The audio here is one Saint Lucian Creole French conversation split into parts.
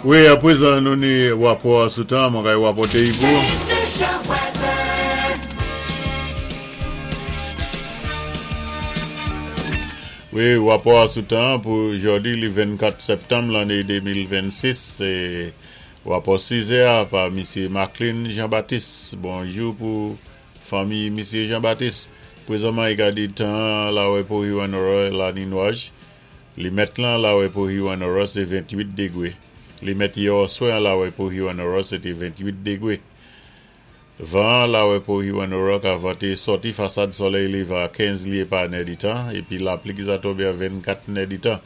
Wi, apwézan nou ni wapò sou tan, mwen kay wapòté i pou. Wi, wapò a sou tan pou jòdi li 24 sèptanm lanné 2026, sé wapò 6 è a pa misyé Macklin Jean Baptiste. Bonjou pou fanmi misyé Jean Baptiste. Pwézanman i ka di tan an lawè pou Hewanorra la ni nwaj. Limèt lan lawè pou Hewanorra sé 28 degwé. Limèt yè òswè an lawè pou Hewanorra sé té 28 degwé. Van an lawè pou Hewanorra ka vanté sòti fasad sòlèy lévan a 15 lyé pa nèditan épi lapli ki sa tonbé a 24 nèditan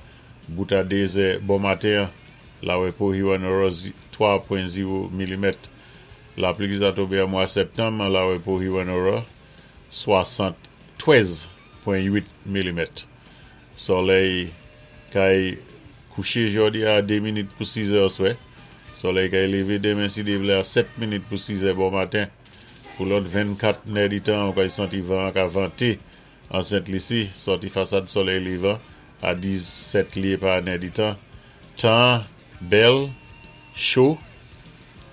bout a 2 zè bon maten an lawè pou Hewanorra 3.0 milimèt. Lapli ki sa tonbé an mwa sèptanm an lawè pou Hewanorra 73.8 milimèt. Sòlèy kay kouché jòdi a 2 minit pou 6 zè oswè. Sòlèy kay lévé denmen si Dye vlé a 7 minit pou 6 zè bon maten. Pou lòt 24 nèditan ou kay santi van an ka vanté an Sent Lisi, sòti fasad sòlèy lévan a 17 lyé pa nèditan. Tan an bèl, cho,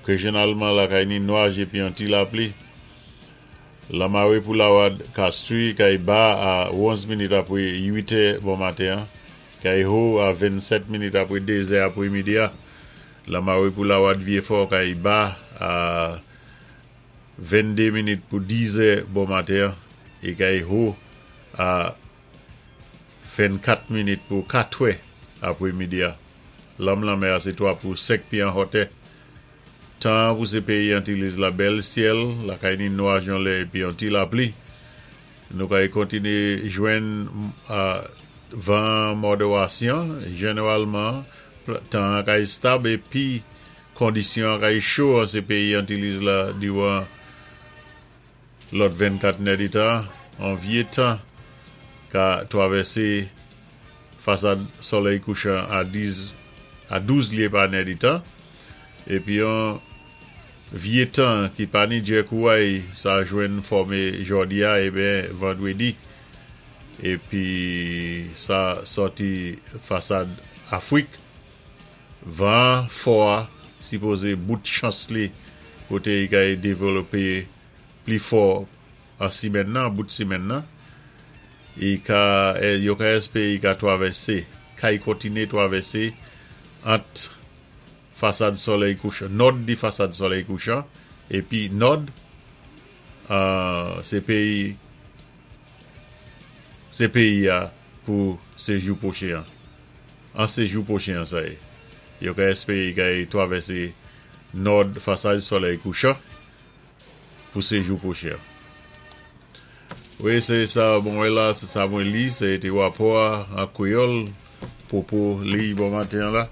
rejyonalman lakay ni nwaj épi yon ti lapli. Lanmare pou Lawad Castries kay ba a 11 minit apre 8 è bon maten an, kay ho a 27 minit apre 2 zè apre midi a. Lanmare pou Lawad Vyefò kay ba a 22 minit pou 10 zè bon maten an e kay ho a 24 minit pou 4 è apre midi a. Lanm lanmè a se 3 pou 5 pye an hòtè. Tan an pou se peyi Antilles la bèl syèl lakay ni nwaj yon lè epi yon ti lapli. Nou kay kontinye jwenn van mòderasyon. Jeneralman, tan an kay estab epi kondisyon an kay cho an se peyi Antilles la diran Lòt 24 nèditan an vye tan ka twavèse fasad solèy kouchan a 10 a 12 lye pa nèditan, epi yon vye tan ki pa ni djè kouway sa jwenn fòme jòdi a eben vandredi, epi sa sòti fasad Afrik. Van an fò a sipoze bout chans li kote i kay devlope pli fò an simèn nan, bout simèn nan. I ka, yo ka espere i ka twavèse, kay kontine twavèse ant fasad solèy kouchan, nòd di fasad solèy kouchan, epi nòd, se peyi, se peyi a pou sejou pwochen an. An se jou pwochen an sa ye. Yo ka espere kay twavèse nòd fasaj solèy kouchan pou se jou pwochen an. Wi se sa mwen wè la, se sa mwen li, se te rapò a an kreyòl, pwopo liy bon maten an la.